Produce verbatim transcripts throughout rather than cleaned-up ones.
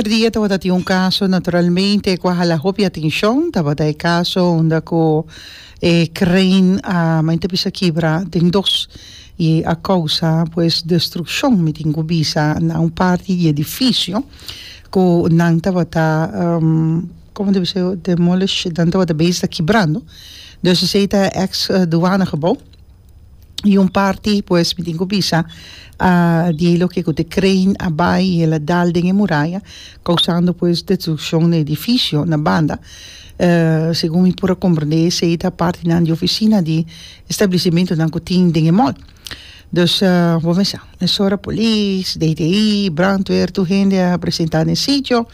Awe merdia tabata tin un caso, naturalmente, cu a hala hopi atencion. Tabata e caso unda cu e crane a mente bisa kibra den dos y a causa pues destruccion, mi tin cu bisa, na un parti di edificio cu nan tabata, um, con debe ser, demolish, nan tabata bezig kibrando. Dus esey ta ex uh, douanegebouw. Y un parti, pues, mi tin cu bisa, uh, di loke cu e crane a bay y el a dal den muraya, causando pues destruccion di edificio na banda. Uh, segun mi por comprende, esey ta parti nan di oficina di establecimento nan cu tin den mall. Dus, uh, bo pensa, mesora polis, D T I, brandweer, tur hende a presenta na sitio,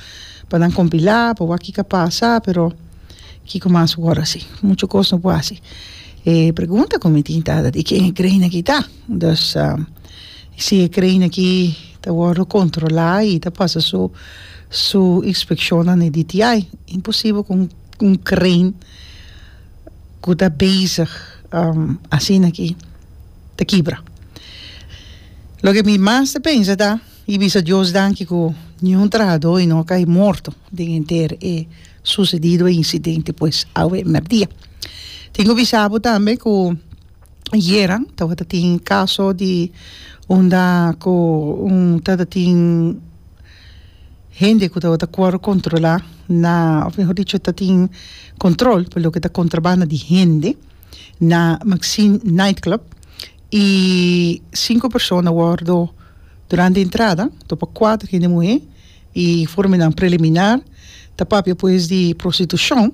pa nan compila, pa wak kico a pasa, pero kico mas awor asina? Mucho cos no por haci. E pregunta cu mi tin ta di ken e crane aki ta. Dus, uh, si e crane aki ta wordo controla y ta pasa su su inspeccion na D T I. Imposibel cu un crane cu ta bezig um, asina aki ta kibra. Loke mi mas ta pensa ta y bisa Dios danki cu ningun trahado no a cay morto den henter e sucedido incidente pues awe merdia. Tin cu bisa bo tambe cu ayera tabata tin caso di unda cu un tata tin hende cu tabata cuer controla na, of mihor dicho, tin control pa loke ta contrabanda di hende na Maxine Nightclub y cinco persona a wordo durante entrada, topa cuater hende muhe y informe preliminar ta papia pues di prostitucion.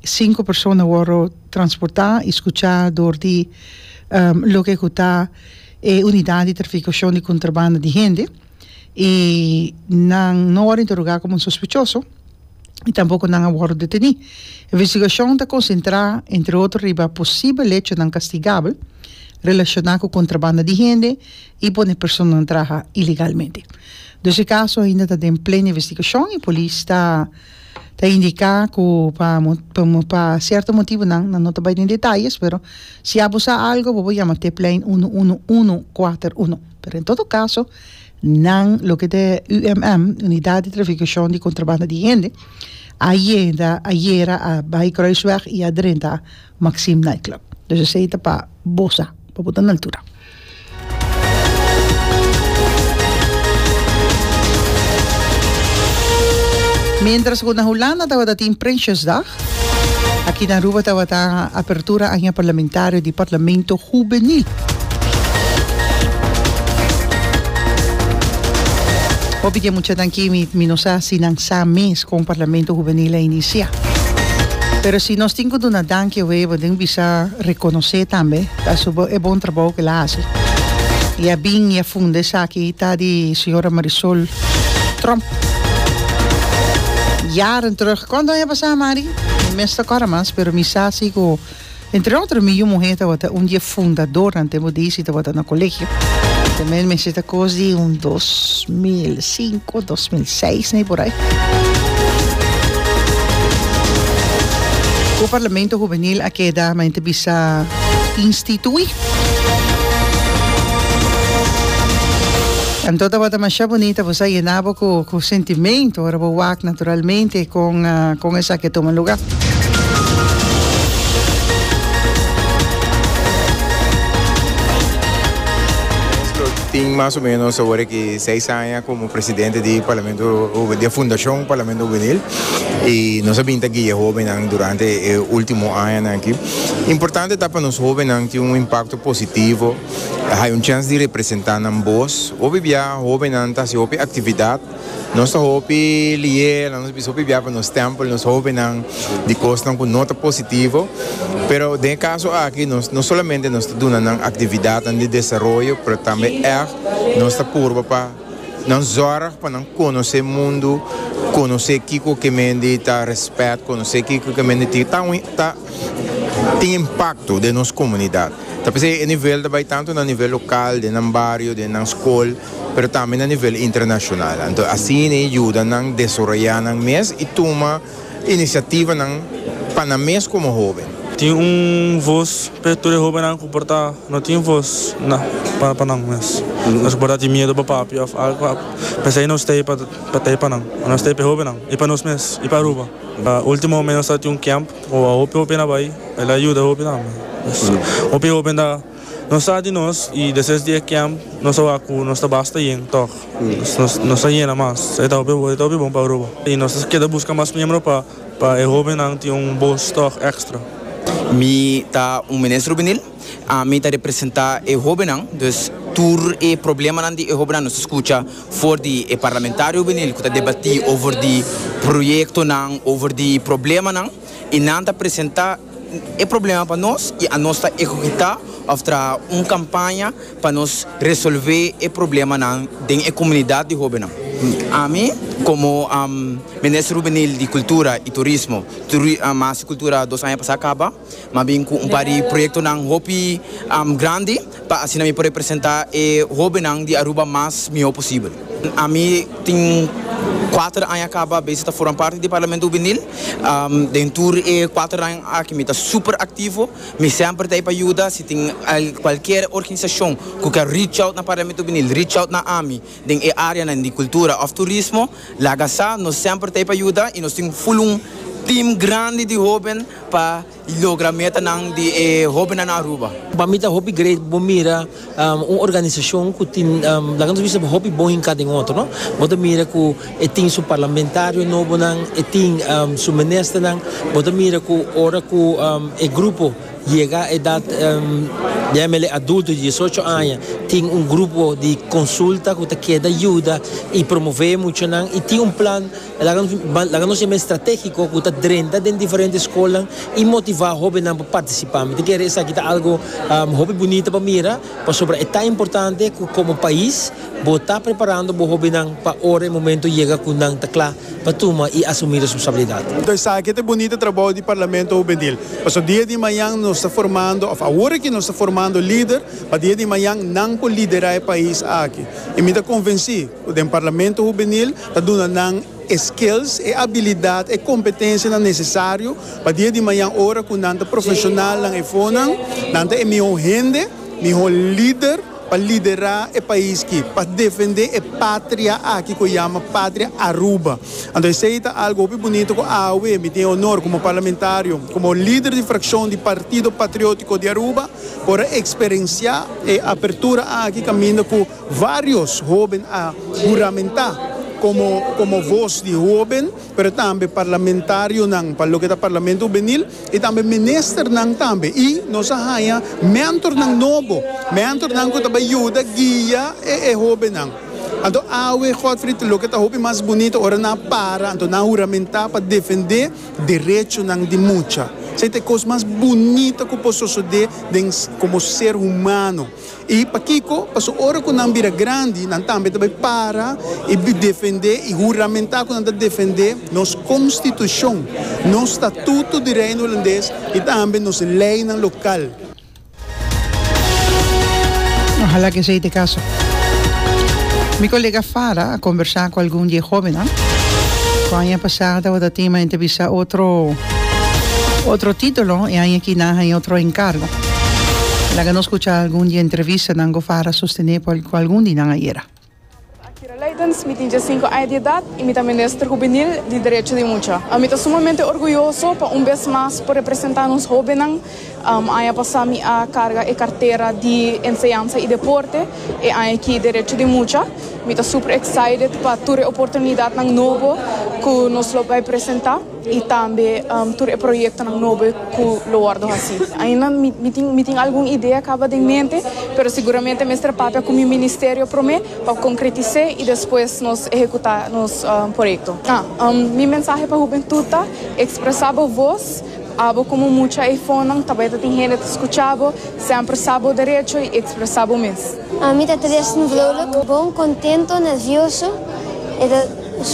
Cinco persona a wordo transporta y scucha door di um, loke ta e unidad di traficacion di contrabanda di hende y nan no a wordo interroga como sospechoso y tampoco nan a wordo deteni. Investigacion ta concentra, entre otro, riba posibel hechonan castigabel relaciona cu contrabanda di hende y pone persona traha ilegalmente. Dus e caso ainda ta den pleno investigacion y polis ta ta indica cu pa pa, pa cierto motibo nan no ta bay den detaye, pero si abo sa algo, bo yama tiplijn un un un cuater un. Pero en todo caso, nan loke ta U M M, Unidad di Traficacion di Contrabanda di Hende, ayera ayera a bay Kruisweg y a drenta Maxim Nightclub. Dus esey ta pa bo sa, pa bo ta na altura. Mientras cu na Hulanda tabata tin Prinsjesdag, aki na Aruba tabata apertura aña parlamentario di Parlamento Hubenil. Hopi cu mucha aki mi, mi no sa si nan sa mes con Parlamento Hubenil a inicia. Pero si nos tin cu duna danki, we tin bisa reconoce tambe ta su e bon trabou cu el a haci. Y a bin y a funda esaki ta di señora Marisol Tromp. Jaren terug. Cuanto aña pasa, Mari? Mi ta corda mas, pero mi sa si cu entre otro mi muhe tabata un di e fundador ante mo disi tabata na colegio. Tambe mi ta cos di un dos mil cinco, dos mil seis, ne, por ey. E Parlamento Hubenil a keda mente bisa institui. Anto tabata masha bunita, bo a yena bo cu, cu sentimento, ora bo wak naturalmente cu, uh, cu esaki a tuma luga. Tin mas o menos awor aki seis aña como presidente di Parlamento di Fundacion Parlamento Hubenil y nos a bin ta guia hobennan durante e ultimo aña aki. Importante ta pa nos hobennan tin un impacto positivo, hay un chance di representa nan voz. Hopi bia hobennan ta haci hopi actividad. Nos ta hopi lier, nos bisa hopi bia pa nos stempel nos hobennan di cosnan cu no ta positivo. Pero den caso aki nos no solamente nos ta duna nan actividad di desaroyo, pero tambe echt nos ta purba pa nan zorg pa nan conoce mundo, conoce kico kiermen ta respet, conoce kico kiermen ta ta tin impacto den nos comunidad. Ta e nivel tambe tanto na nivel local, den un bario, den un scol, pero tambe na nivel internacional. Anto, asina e yuda nan desaroya nan mes y tuma iniciativa nan pa nan mes como hoben. Tin un voz pa tur e hobennan ku por ta no tin voz na pa pa nan mes. Nos por ta tin miedo pa papia of algo. P'esei nos t'ei pa pa t'ei pa nan. Nos t'ei pa e hobennan i pa nos mes i pa Aruba. Ultimo nos a tin un camp ku hopi hopi a bai, el a yuda hopi tambe. Hopi hoben ta nos sa di nos i despues di e camp nos a wak ku nos ta basta yen tòg. Nos nos a yena mas. E ta hopi e ta hopi bon pa Aruba. I nos ta keda buska mas miembro pa pa e hobennan tin un bos tòg extra. Mi ta un minister hubenil, ami ta representa e hobennan, dus tur e problemanan di e hobennan nos ta scucha for di e parlamentario hubenil cu ta debati over di proyectonan, over di problemanan y nan ta presenta e problema pa nos y anos ta ehecuta of traha un campaña pa nos resolve e problemanan den e comunidad di hobennan. Ami como Minister Hubenil di Cultura y Turismo, mas Cultura dos aña pasa caba, m'a bin cu un par di proyectonan hopi grandi pa asina mi por representa e hobennan di Aruba mas miho posibel. Ami tin kuater aña caba bezig ta forma parti di Parlamento Hubenil. Den tur e kuater aña aki mi ta super activo, mi semper ta ei pa yuda, si tin cualkier organisacion cu kier reach out na Parlamento Hubenil, reach out na ami den e areanan di cultura of turismo, laga sa, nos semper ta ei pa yuda y nos tin full un team grandi di hoben pa logra metanan di e hobennan na Aruba. Pa mi ta hopi great bo mira un organisacion cu tin, laga nos bisa, hopi bon hinca den otro, no? Bo ta mira cu e tin su parlamentario nobonan, e tin su ministernan, bo ta mira cu ora cu e grupo yega edad, yamele adulto, di diesocho aña, tin un grupo di consulta cu ta keda yuda y promove muchanan y tin un plan, laga nos yama estrategico, cu ta drenta den diferente scolnan y motiva hobennan pa participa. Mi ta kere esaki ta algo hopi bunita pa mira, pasobra e ta importante cu como pais bo ta preparando bo hobennan pa ora e momento yega cu nan ta cla pa tuma y asumi responsabilidad. Entonces esaki ta e bunita trabou di Parlamento Hubenil. Paso dia di mañan nos ta formando, of awor cu nos ta formando lider, pa dia di mañan nan por lidera e pais aki. Y mi ta convenci cu den Parlamento Hubenil ta duna nan skills e habilidad e competencianan necesario pa dia di mañan ora cu nan ta profesionalnan efonan, nan ta e miho hende, miho lider pa lidera e pais aki, pa defende e patria aki cu yama Patria Aruba. Anto esey ta algo hopi bunito cu awe mi tin honor como parlamentario, como lider di fraccion di Partido Patriotico di Aruba, por experiencia e apertura aki caminda cu varios hoben a huramenta como, como voz di hoben, pero tambe parlamentarionan pa loke ta Parlamento Hubenil y tambe ministernan tambe. Y nos a haya mentornan nobo, mentornan cu tambe yuda guia e, e hobennan. Anto awe, Godfried, loke ta hopi mas bunito ora nan para, anto nan huramenta pa defende derechonan di mucha. Esey ta e cos mas bunito cu por sucede den como ser humano. Y pakico, paso ora cu nan bira grandi, nan tambe tambe para y defende y huramenta cu nan ta defende nos constitucion, nos Statuto di Reino Hulandes y tambe nos leynan local. Ojalá cu esey ta e caso. Mi colega Fara a conversa cu algun di e hobennan. Aña pasa tabata tin a entrevista otro otro titulo y aña aki nan a otro encargo. Laga nos scucha algun di e entrevistanan cu Fara a sostene cu algun di nan ayera. Akira Leidens, mi tin diescinco aña di edad y mi ta minister hubenil di Derecho di Mucha. Mi ta sumamente orguyoso pa un bes mas por representa nos hobennan. Um, aña pasa mi a carga e cartera di Enseñansa y Deporte y aña aki Derecho di Mucha. Mi ta super excited pa tur e oportunidadnan nobo cu nos lo bay presenta y tambe um, tur e proyectonan nobo cu lo wordo haci. Ainda mi, mi, tin, mi tin algun idea caba den mente, pero siguramente mester papia cu mi ministerio prome pa concretisa y despues nos ehecuta nos um, proyecto. Ah, um, mi mensahe pa hubentud ta: expresa bo voz, abo como mucha iPhone, tambe tin hende ta scucha bo, semper sa bo derecho y expresa bo mes. Ami ta Tristan Vrolijk, bon, contento, nervioso. E ta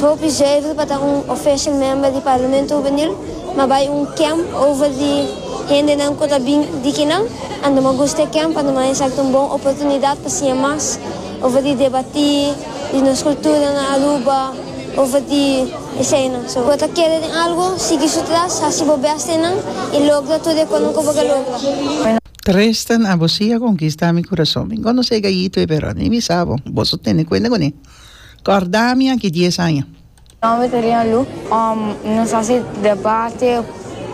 hopi zuiver pa ta un official member di Parlamento Hubenil, m'a bay un camp over di hendenan cu ta bin di akinan, anto m'a gusta e camp, anto m'a exacto un bon oportunidad pa siña mas over di debati, di nos cultura na Aruba, over di Eseinan. So, bo ta kere den algo, sigui su tras, hasi bo best einan y logra tur e konan ku bo ke logra. Tristan, abo sí a konkistá mi kurason. Mi konosé e gayito ei, pero ni mi sa bo. Boso tene kuenta kuné. Kòrda mi aki dies aña. Nomber ta Rian Lu. Nos hasi debate,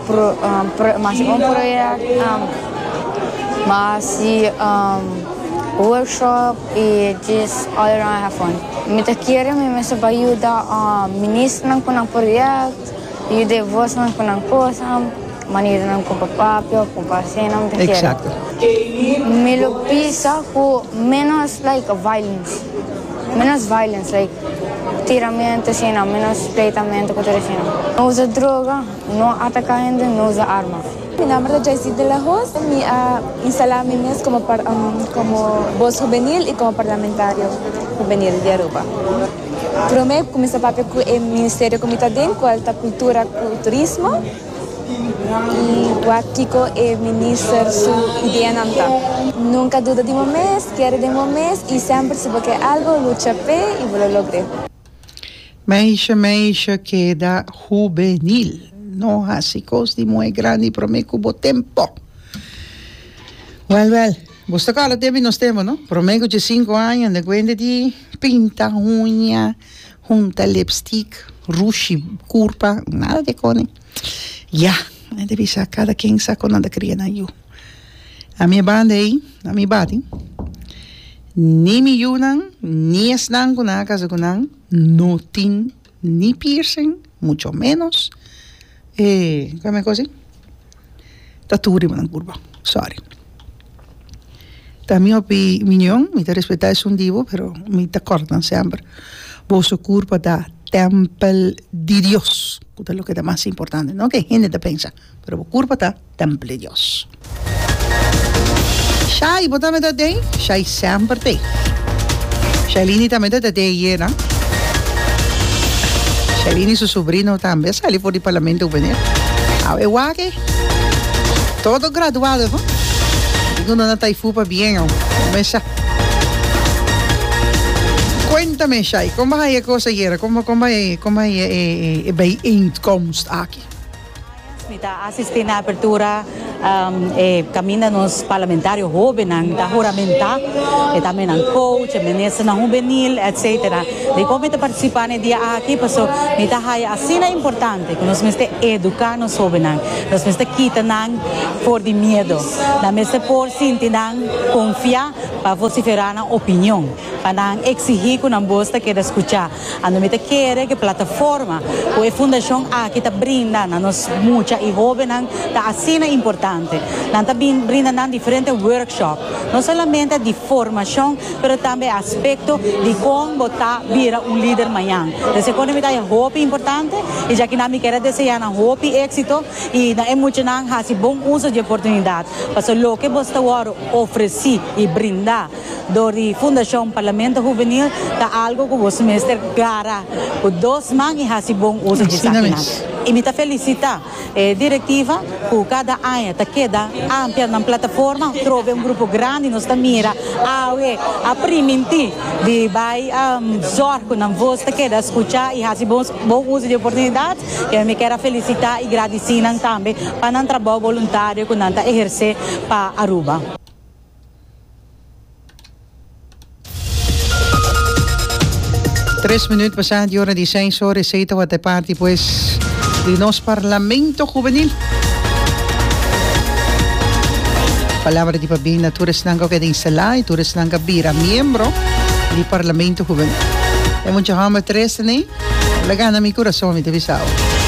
m'a hasi un project, m'a hasi workshop y just all around have fun. Mi ta kere mi mester pa yuda ministernan cu nan project, yuda e vosnan cu nan cosnan, maneranan cu pa papia, cu pa haci nan, mi ta kere. Exacto. Mi lo bisa cu menos like violence, menos violence like tiramento asina, menos pleitamento cu tur asina. No usa droga, no ataca hende, no usa arma. Mi nomber ta Jaycee de la Hoz. Mi a instala mi mes como par, como voz juvenil y como parlamentario juvenil di Aruba. Prome cuminsa papia cu e ministerio cu mi ta den, cual ta Cultura cu Turismo, y wak kico e minister su ideanan ta. Nunca duda di bo mes, kere den bo mes y semper si bo ke algo, lucha p'e y bo lo logr'e. Meisje, meisje, keda hubenil. No hasi kos di muhé grandi promé ku bo tempo. Wèl, wèl, bo ta kòrda tempu di nos tempu, no? Promé ku diesinku aña, anda kuenta di pinta huña, hunta lipstick, rushi kurpa, nada di kone. Ya, nan ta bisa kada ken sa kon nan ta kria nan yu. A mi e banda ei, a mi bati, ni mi yunan, ni esnan ku nan a kasa ku nan, no tin ni piercing, mucho menos e, kome kosi? Tatu riba nan kurpa. Sorry. Ta mi opinion, mi ta respetá esun di bo, pero mi ta kòrda nan semper. Boso kurpa ta tèmpel di Dios, ku ta loke ta mas importante. No ke hende ta pensa, pero bo kurpa ta tèmpel di Dios. Shai, bo tambe ta den? Shai semper t'ei. Shailini tambe ta den ayera. Shailini su sobrino tambe a sali for di Parlamento Hubenil. Awe wak e. Todo graduado, ho. Digo no na Taifu pa bien, ho. Mesa. Cuéntame, Shai, kon bai e kos ayera? Kon kon bai kon bai e e e bijeenkomst aki? Mi ta asistí na apertura e kaminda nos parlamentario hóbennan ta huramentá, e tambe nan coach, e ministernan hubenil, etcetera. Dikon mi ta partisipá na e dia aki? Paso mi ta haya asina importante ku nos mester eduká nos hóbennan. Nos mester kita nan for di miedo. Nan mester por sinti nan konfiá pa vosiferá nan opinion, pa nan eksigí ku nan bos ta keda skuchá. Anto mi ta kere ku e plataforma ku e fundashon aki ta brinda na nos mucha i hóbennan ta asina importante. Nan ta bin brinda nan diferente workshop, no solamente di formashon, pero tambe aspekto di kon bo ta bira un lider mañan. Entonces e kono mi ta hopi importante i djaki nan mi kier a deseá nan hopi éksito i na e muchanan hasi bon uso di e oportunidat. Pasobra loke bo ta wòrdu ofresí i brindá dor di Fundashon Parlamento Hubenil ta algo ku bo mester gara ku dos man i hasi bon uso di Asina esakinan. mes. I mi ta felisitá e direktiva ku kada aña ta keda amplia nan plataforma, trobe un grupo grandi nos ta mira awe a primintí di bai zòrg ku nan vos ta keda skuchá i hasi bon bon uso di oportunidat. I mi kier a felisitá i gradisí nan tambe pa nan trabou boluntario ku nan ta ehersé pa Aruba. Tres minuut pasá di ora di seis ora, esei tabata e parti pues di nos Parlamento Hubenil. Palabra di pabien na tur esnan ku a keda instalá i tur esnan ku a bira miembro di Parlamento Hubenil. E mucha hòmber tres tenei, el a gana mi kurason, mi ta bisa awe.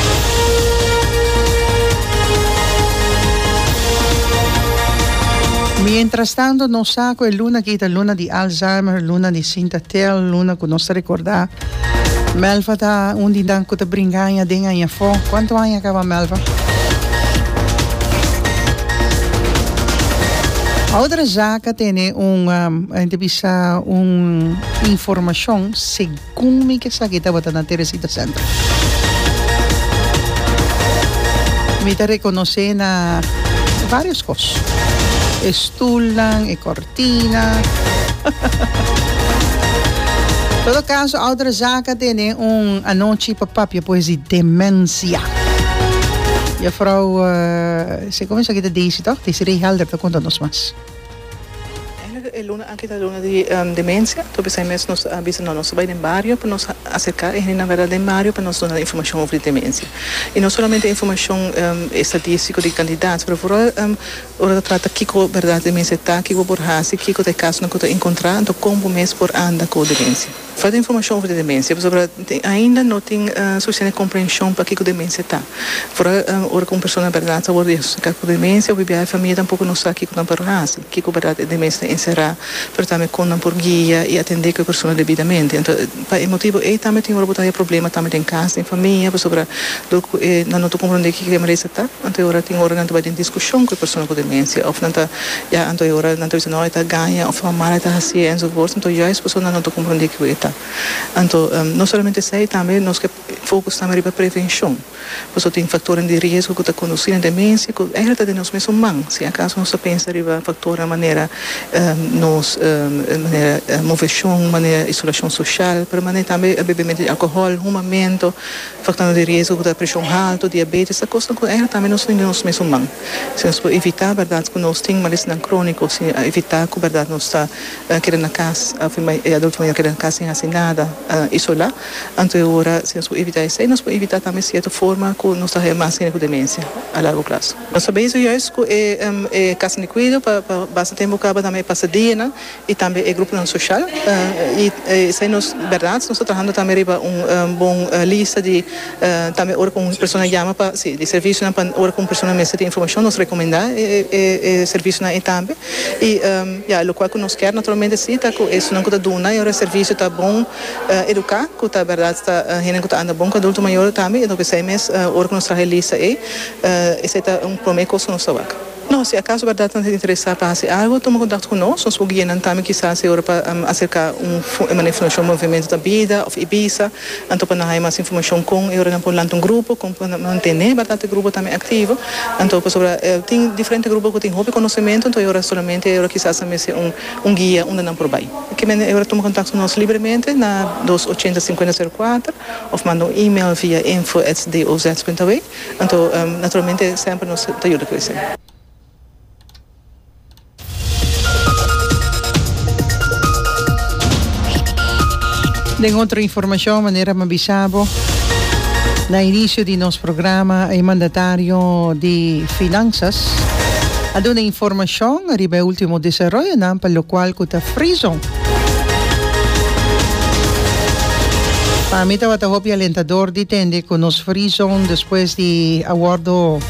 Mientras tanto nos sa cu e luna aki ta luna di Alzheimer, luna di Sinta Tel, luna cu nos ta recorda. Melva ta un di nan cu ta bringa aña den aña afo. Cuanto aña caba Melva? Oudere Zaak a tene un, a hende bisa un informacion segun mi ke esaki tabata na Teresita Center. Mi ta reconoce na varios cos. E stoelnan, e cortina. Todo kaso, Oudere Zaak a tene un anochi pa papia pues di demensia. Juffrouw, uh, se kon esaki ta Daisy toch? Desiree Helder ta konta nos mas. Eigenlijk e luna aki ta luna di um, demensia. Anto p'esei mes nos a bisa no, nos ta bai den bario pa nos aserká e hendenan bèrdat den bario pa nos duna informashon over di demensia. I no solamente informashon um, estadístiko di kantidat, pero vooral um, ora ta trata kiko bèrdat demensia ta, kiko por hasi, kiko ta e kasonan ku ta enkontrá, anto kon bo mes por anda ku demensia. Falta informashon over di demensia, pasobra ainda no tin sufisiente komprenshon pa kiko demensia ta. Foral ora ku un persona bèrdat ta wòrdu diagnostiká ku demensia, hopi biaha e famia tampoko no sa kiko nan por hasi, kiko bèrdat e demensia ta enserá, pero tambe kon nan por guia i atendé ku e persona debidamente. Anto, pa e motibu ei tambe tin ora bo ta haya problema tambe den kas, den famia, pasobra dor ku e nan no ta komprondé kiko e malesa ta, anto e ora tin ora nan ta bai den diskushon ku e persona ku demensia òf nan ta, ya, anto e ora nan ta bisa no e ta gaña òf ta mal e ta hasié enzovoorts, anto juist pasobra nan no ta komprondé kiko e ta. Anto, no solamente esei, tambe nos ke focus tambe riba prevencion, pasobra tin factornan di riesgo cu ta conduci na demencia cu eigenlijk ta den nos mesun man. Si acaso nos ta pensa riba factornan manera nos manera movecion, manera isolacion social, pero manera tambe bebemento di alcohol, humamento, factornan di riesgo cu ta presion halto, diabetes, ta cosnan cu eigenlijk tambe nos tin den nos mesun man. Si nos por evita berdad cu nos tin malesanan cronico, si evita cu berdad nos ta keda na cas of e adulto mayor keda na cas sin haci nada, isolá, anto e ora si nos por evitá esei, nos por evitá tambe sierto forma ku nos ta haña mas hende ku demensia a largo plaso. Nos ta bezig juist ku e e kasanan di kuido pa pa basta tempu kaba tambe e pasadianan i tambe e gruponan soshal i esei nos bèrdat nos ta trahando tambe riba un bon lista di tambe ora ku un persona yama pa si di servisionan pa ora ku un persona mester tin informashon nos rekomendá e e servisionan ei tambe i ya lokual ku nos kier naturalmente si ta ku esunnan ku ta duna e ora servisio ta bon eduká ku ta bèrdat ta hende ku ta anda bon ku adulto mayor tambe i enton p'esei mes ora ku nos traha e lista ei esei ta un promé kos ku nos ta wak. No, si akaso bèrdat nan ta interesá pa hasi algu tuma kontakto ku nos, nos por guia nan tambe kisas e ora pa aserká un manera Fundashon Movimento ta Bida òf Ibisa anto pa nan haña mas informashon kon e ora nan por lanta un grupo kon pa nan mantené bèrdat e grupo tambe aktivo anto pasobra tin diferente grupo ku tin hopi konosementu anto e ora solamente e ora kisas nan mester un un guia unda nan por bai. Ke mende e ora tuma kontakto ku nos libremente na dos ochenta sinkuenta sero kuater òf manda un email via info at doz punto aw. Anto naturalmente semper nos ta yuda ku esei. Den otro informashon, manera mi a bisa bo na inicio di nos programa, e mandatario di Finanzas a duna informashon riba e ultimo desaroyonan pa lokual ku ta Free Zone. Pa mi tabata hopi alentador di tende ku nos Free Zone despues di a wòrdu,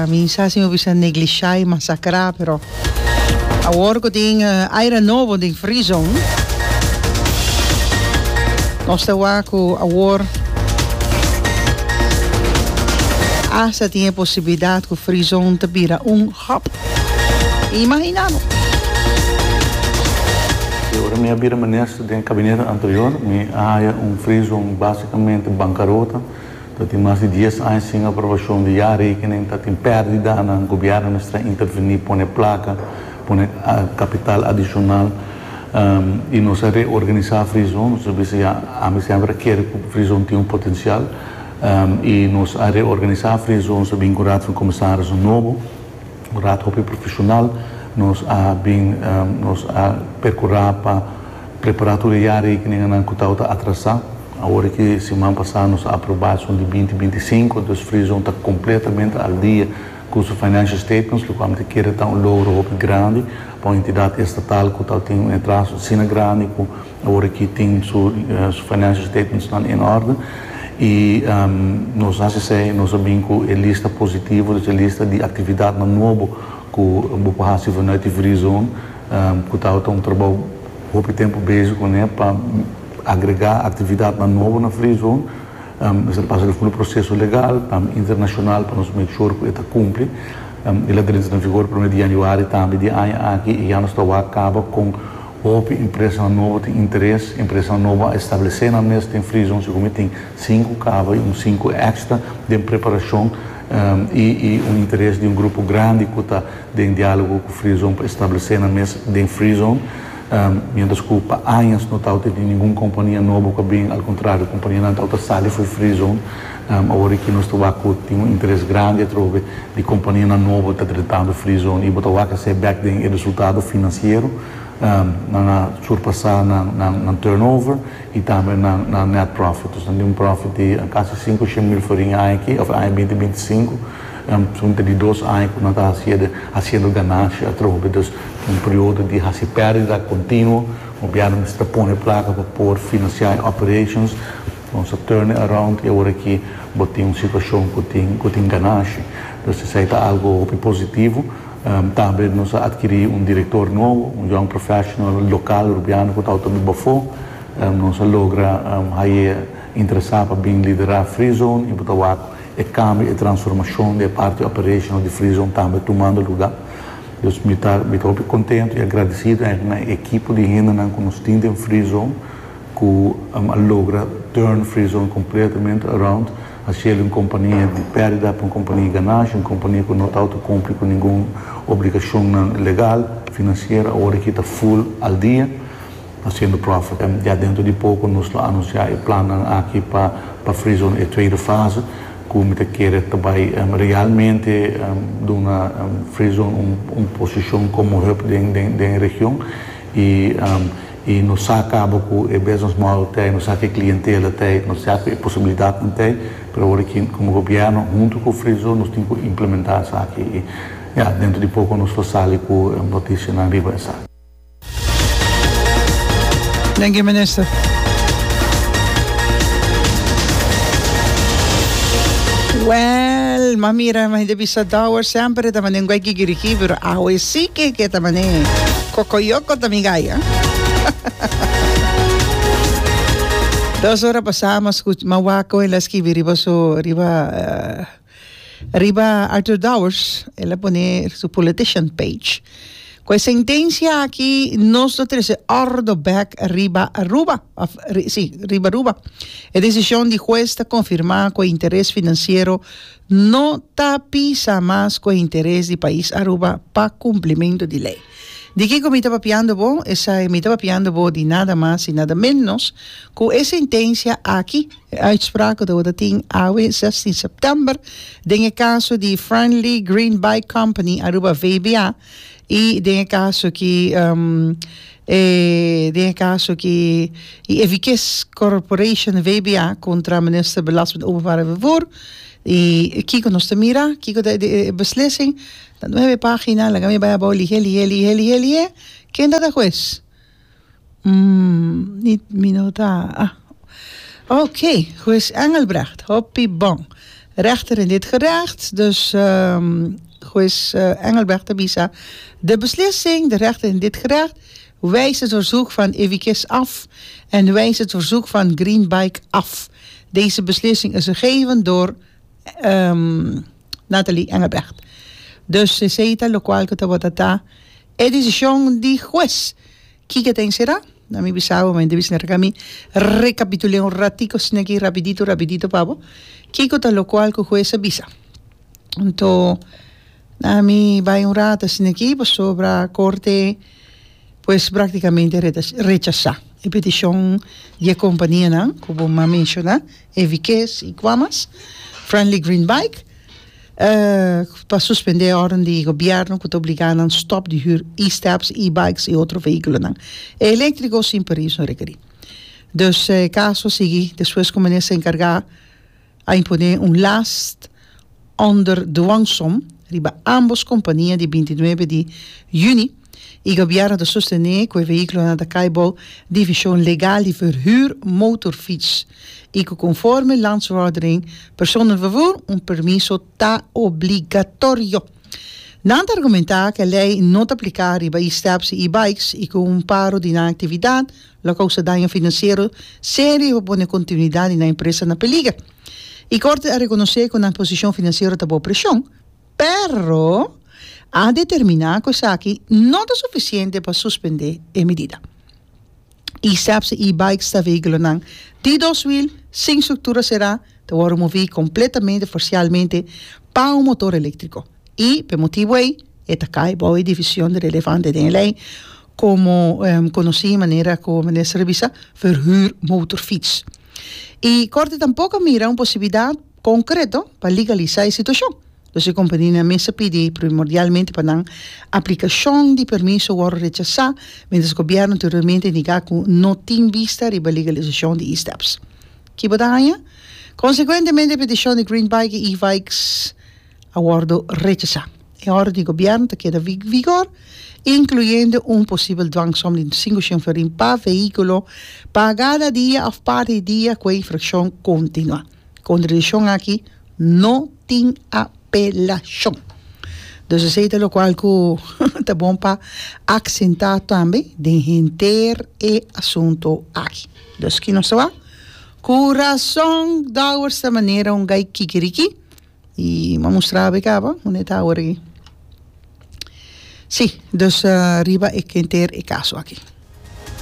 mi sa si mi bisa neglishá i masakrá, pero awor ku tin aire nobo den Free Zone, nos ta wak ku awor hasta tin e posibilidat ku Free Zone ta bira un hub. Imaginá bo! E ora mi a bira minister den kabinete anterior, mi a haya un Free Zone basikamente bankarota. Ta tin mas di dies aña sin aprobashon di jaarrekening, ta tin pèrdidanan, gobièrnu mester a intervení, pone plaka, pone kapital adishonal i nos a reorganisá Free Zone. Nos a bisa ya, ami semper a kere ku Free Zone tin un potensial i nos a reorganisá Free Zone, nos a bin ku Raad van Commissarissen nobo, un raad hopi profeshonal. Nos a bin, nos a perkurá pa prepará tur e jaarrekeningennan ku tabata atrasá. Awor ki siman pasá nos a aprobá esun di binti binti i sinku, dus Free Zone ta kompletamente al dia ku su financial statements, lokual mi ta kere ta un logro hopi grandi pa un entidat estatal ku ta tin un atraso asina grandi ku awor aki tin su su financial statementsnan in orde. I nos hasi esei, nos a bin ku e lista positivo, dus e lista di aktividatnan nobo ku bo por hasi vanuit di Free Zone, ku tabata un trabou hopi tempu bezig kuné pa agregá aktividatnan nobo na Free Zone. Mester pasa di full proseso legal, tambe internashonal pa nos make sure ku e ta kumpli. El a drenta na vigor promé di yanüari tambe di e aña aki i ya nos ta wak kaba kon hopi empresanan nobo tin interes. Empresanan nobo a establesé nan mes den Free Zone, segun mi tin sinku kaba i un sinku èkstra den preparashon i i un interes di un grupo grandi ku ta den diálogo ku Free Zone pa establesé nan mes den Free Zone. Um, mientras ku pa añas no tabata tin ningun kompania nobo ku bin, al kontrario, kompanianan tabata sali for di Free Zone. Um, awor ku nos ta tin un interes grandi atrobe di kompanianan nobo ta drentando Free Zone i bo ta wak esei bèk den e resultado finansiero, um, nan a surpasá nan, nan, nan turnover i tambe nan, nan net profit. Dus nan un profit di kasi sinku mil florin aki, òf aña binti binti sinku, um, son di dos aña ku nan ta hasiendo, hasiendo ganashi atrobe. Dus un periodo di hasi pèrdida kontinuo, gobièrnu ta pone plaka pa por finansiá operations, nos a turn around i awor aki bo tin un situashon ku tin ku tin ganashi. Dus esei ta algu positivo. Um, tambe nos a atkirí un direktor nobo, un young professional lokal rubiano ku ta tambe bafó. Um, nos a logra um, e interesá pa bin liderá Free Zone i bo ta wak e kambio i transformashon di parti operational di Free Zone tambe tumando lugá. Dus mi ta mi ta kontentu i agradesido na e ekipo di hende ku nos tin den Free Zone, ku um, logra turn Free Zone kompletamente around, hasi un kompania di pèrdida pa un kompania di ganashi, un kompania ku no ta kumpli ku ningun obligashon legal, finansiero, awor ku ta full al dia, hasiendo profit. Um, ya denter di poko nos lo anunsiá e plan aki pa pa Free Zone e tweede fase, ku mi ta kere tambe um, realmente um, duna um, Free Zone un, un posishon komo hub den, den, den region i um, i nos sa kaba ku e business model tin, nos sa ku klientela tin, nos sa ku posibilidat tin, pero awor aki komo gobièrnu huntu ku Free Zone nos tin ku implementá esaki i ja, denter di poko nos lo sali ku notisianan riba esaki. Dank je, minister. Well, ma mira, ma hindi bisa Dowers sempre ta manen guay kikiriki, pero awe sí que que ta manen kokoyoko ta mi gaya. Dos ora pasamos mawako en la skibi riba so riba uh, riba Arthur Dowers, el a pone su politician page. Ku e sentensia aki nos ta trese òrdu bèk riba Aruba, of, ri, sí, riba Aruba. E desishon di hues ta konfirmá ku interes finansiero no ta pisa mas ku interes di pais Aruba pa kumplimentu di lei. Di kiko mi ta papiando bo? Esei mi ta papiando bo di nada mas i nada menos ku e sentensia aki, uitspraak ku tabatin awe zestien sèptèmber, den e kaso di Friendly Green Bike Company Aruba V B A i den e kaso aki um, eh, den e kaso aki i Evikes Corporation V B A kontra minister Belasting Openbaar Vervoer. I kiko nos ta mira, kiko ta e beslissing, na nuebe página, laga mi bai abou lihé, lihé, lihé, lihé, lihé. Ken ta hues? Mm, niet minuta. Ah. Oké, hues Engelbrecht, hopi bon. Rechter in dit gerecht, dus um, hues uh, Engelbrecht a bisa. De beslissing, de rechter in dit gerecht, wijst het verzoek van Evikes af en wijst het verzoek van Green Bike af. Deze beslissing is gegeven door um, Nathalie Engelbrecht. Dus esei ta lokual ku tabata e desishon di hues. Kiko tin será? Na mi bisabo, mi debis mi rekapitulá un ratico aki rapidito, rapidito pa bo. Kiko ta lokual ku hues a bisa. Anto, na mi bai un rato aki sobre korte, pues práktikamente rechasá e petishon di kompanianan, komo m'a menshoná, Evikes i Quamas, Friendly Green Bike, uh, pa suspendé órden di gobièrnu ku ta obligá nan stòp di huur e-steps, e-bikes i otro vehíkulonan eléktriko sin permiso rekerí. Dus eh, kaso sigui despues ku minister enkargá a imponé un last onder dwangsom riba ambos kompania di bintinuebe di yüni i gobièrnu ta sostené ku e vehíkulonan ta kai bou definishon legal di verhuur motorfiets i ku konforme Landsverordening personenvervoer un permiso ta obligatorio. Nan ta argumentá ku e lei no ta apliká riba e-steps i e-bikes i ku un paro di aktividat lo kousa daño finansiero serio i pone kontinuidat di empresa na peliger. I korte a rekonosé ku e posishon finansiero ta bou preshon, pero a determiná ku esaki no ta sufisiente pa suspendé e medida. E-steps i e-bikes ta vehíkulonan di dos wiel, sin struktura será, ta wòrdu moví kompletamente, parsialmente, pa un motor eléktriko. I, pa e motibu ei, e ta kai bou definishon relevante di lei. Komo konosí manera ku minister a bisa, verhuur motorfiets. I korte tampoko a mira un posibilidat konkreto pa legalisá e situashon. Dus e kompanianan mes a pidi primordialmente pa nan aplikashon di permiso wòrdu rechasá, mientras gobièrnu anteriormente a indiká ku no tin bista riba legalisashon di e-steps. Ki bo ta haña? Konsekuentemente e petishon di Green Bike i E-Vikes a wòrdu rechasá. E òrdu di gobièrnu ta keda vigor, inkluyendo un posibel dwangsom di sinku shen florin pa vehíkulo pa kada dia òf parti di dia ku e infrakshon kontinuá. Kontra e desishon aki no tin apelashon. Dus esei ta lokual ku ta bon pa aksentá tambe den henter e asuntu aki. Dus ki nos ta wak? Ku rason Dowers ta manera un gai kikiriki. I m'a mustra bo e kaba, unda e ta awor aki. Sí, dus riba e henter e kaso aki.